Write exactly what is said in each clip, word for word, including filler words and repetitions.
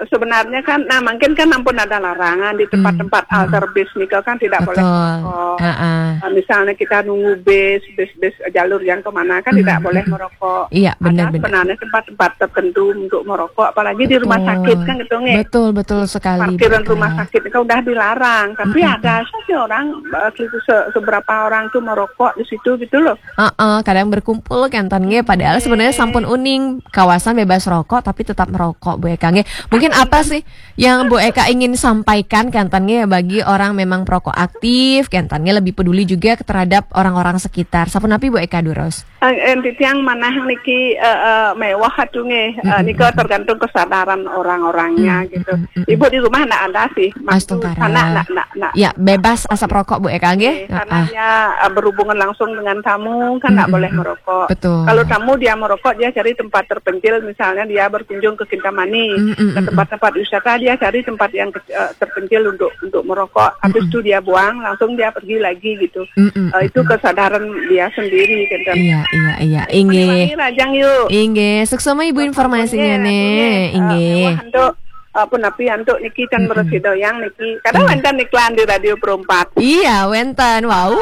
sebenarnya kan, nah, mungkin kan ampun ada larangan di tempat-tempat alter bis nika kan tidak boleh merokok. Nah, misalnya kita nunggu bis, bis-bis jalur yang kemana kan tidak boleh merokok. Iya, benar, ada sebenarnya tempat-tempat tertentu untuk merokok, apalagi di rumah sakit kan gitu nggih. Betul, betul sekali. Parkiran rumah sakit itu udah dilarang, tapi ada sih orang, eh, se- seberapa orang tuh merokok di situ gitu loh. Heeh, kadang berkumpul kenten nggih, padahal sebenarnya sampun uning kawasan bebas rokok tapi tetap merokok, Bu Eka nggih. Mungkin apa sih yang Bu Eka ingin sampaikan kenten nggih bagi orang memang perokok aktif, kenten nggih lebih peduli juga terhadap orang-orang sekitar. Sapunapi Bu Eka durus? Eh, eh, titiang manah niki, eh, eh, mewah atuh nggih. Eh, nika tergantung kesadaran orang-orangnya gitu. Ibu di rumah ndak ada sih. Maksud Astungkara. Anak ndak ndak ndak. Ya, bebas asap rokok Bu Eka nggih. Karena dia, eh, berhubungan langsung dengan tamu kan nggak boleh merokok. Betul. Kalau tamu dia merokok, dia cari tempat terpencil, misalnya dia berkunjung ke Kintamani, Mm-mm. Ke tempat-tempat wisata, dia cari tempat yang kec- eh, terpencil untuk untuk merokok. Habis itu dia buang, langsung dia pergi lagi gitu. Mm-mm. Eh, itu kesadaran dia sendiri gitu. Iya, iya, iya. Inggih. Ulangi rajang yuk. Inggih, suksema Ibu informasinya Iya, nih. eh, Inggih. Mewah untuk, eh, punapi antuk niki kan beresi doyang niki. Kadang wonten iklan di Radio Pro empat. Iya, wenten. Wow.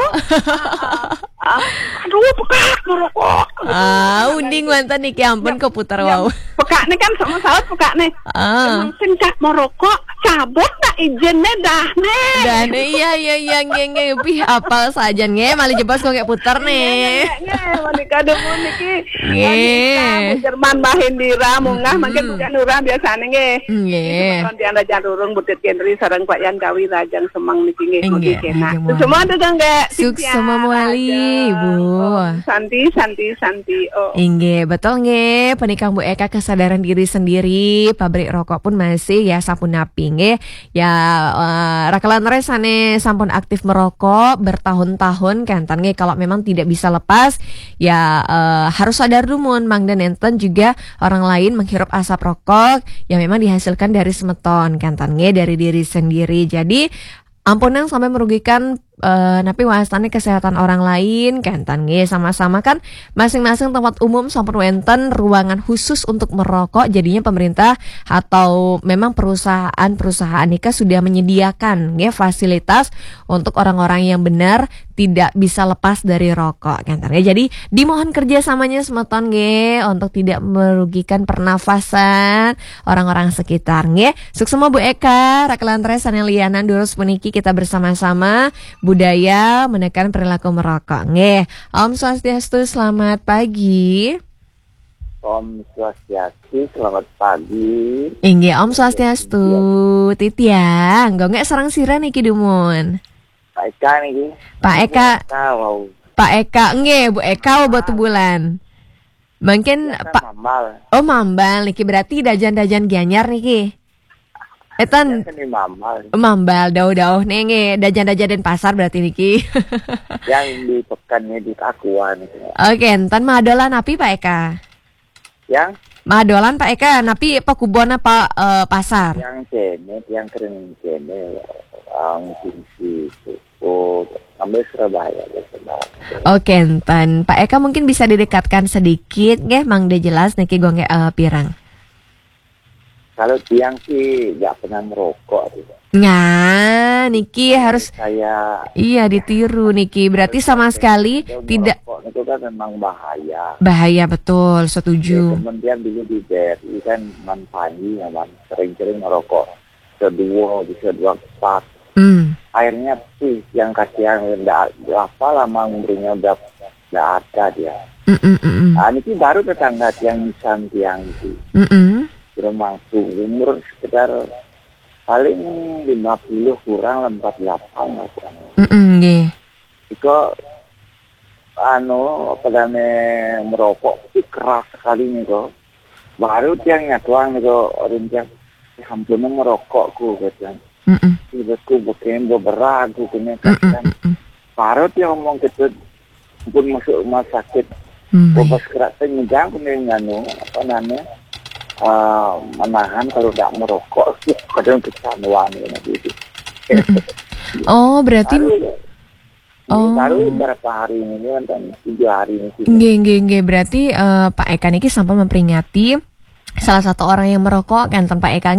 Ah, aduh, pekak merokok. Ah, uning wenten niki ampun keputar wow. Pekak nih kan sama saut pekak nih. Ah. Emang sing cak merokok, cabut tak izinnya dah nih. Dan iya, iya, iya, nggih, nggih. Pih, apal saja nggih, malih jebos kok kayak putar nih. Nggih, menika dumun niki. Nggih. Jerman Mbah Indira munggah mungkin bukan urang biasanya nggih. Nggih. Semeton tiang Raja Rurung, Butut Kendri sareng Pak Yan Kawi Rajang Semeng niki nggih. Inggih, Mugi kenak. inggih, Semua tuh nggih. Suksema mewali, Bu. Santi, santi, santi. Oh. Inggih, betul nggih. Penikang Bu Eka kesadaran diri sendiri, pabrik rokok pun masih ya sapunapi nggih. Ya, eh, rakelan res sane sampun aktif merokok bertahun-tahun kenten nggih. Kalau memang tidak bisa lepas, ya, eh, harus sadar dumun mangda nenten juga orang lain menghirup asap rokok yang memang dihasilkan dari semeton kenten nggih, dari diri sendiri. Jadi ampunang sampai merugikan, eh, napi wastane kesehatan orang lain kenten nggih. Sama-sama kan masing-masing tempat umum sampun wenten ruangan khusus untuk merokok, jadinya pemerintah atau memang perusahaan-perusahaan nika sudah menyediakan nggih fasilitas untuk orang-orang yang benar tidak bisa lepas dari rokok kenten nggih. Jadi dimohon kerjasamanya semeton nggih untuk tidak merugikan pernafasan orang-orang sekitar nggih. Suksema Bu Eka, rakelan res sane lianan durus puniki kita bersama-sama budaya menekan perilaku merokok nggih. Om Swastiastu, selamat pagi. Om Swastiastu, selamat pagi. Inggih, Om Swastiastu. Titiang, nggih sareng sira niki dumun? Pak Eka niki. Pak Eka. Eka, wow. Pak Eka, nggih, Bu Eka, Batu Bulan. Mungkin Kan Pak Mambal. Oh, Mambal niki berarti dajan-dajan Gianyar niki. Etan Kan di Mambal. Mambal dauh-dauh nih nggih, dajan-dajan Denpasar berarti niki. Yang di pekan ini di Takuan. Oke, enten madolan napi Pak Eka? Yang Madolan Pak Eka, napi apa kubon apa eh, pasar? Yang kene, yang kering kene, yang tinggi itu. Oh, sampai Surabaya, ya, Surabaya. Oke, enten Pak Eka mungkin bisa didekatkan sedikit nggih, mangda jelas niki gua nggih eh, pirang. Kalau tiang sih nggak pernah merokok sih, Pak. Nah, niki harus Saya iya ditiru niki. Berarti sama sekali itu tidak merokok itu kan memang bahaya. Bahaya betul, Ya, setuju. Kemudian dulu di B R I kan Man Panji, ya, Man, sering-sering merokok. Bisa dua, bisa dua empat. Hmm. Akhirnya sih yang kasihan nggak apa lama umurnya udah nggak ada dia. Mm, mm, mm, mm. Nah, ini baru tetangga tiang nisan tiang itu. Mm, mm. Belum mampu umur sekitar paling lima puluh kurang lah, empat puluh delapan lah kurang. Mm, mm, nggih. Iko anu apa namanya merokok itu keras sekali nih kok. Baru tiang nyatuang nih kok, orang tiang sampai merokok ku katanya. Mm, mm. Ibaratku bikin beberapa ku kena Mm, mm, kasihan. mm, mm. Baru tiang ngomong gitu pun masuk rumah sakit. Mm, Gua nggih. pas kerak nyidang kena nganu apa namanya eh, menahan kalau tidak merokok kadang kecanduan gitu. Oh, berarti Baru, Oh. Baru berapa hari ini kan, tujuh hari ini sih. Nggih, nggih, nggih. Berarti eh, Pak Eka niki sampun memperingati salah satu orang yang merokok kan, Pak Eka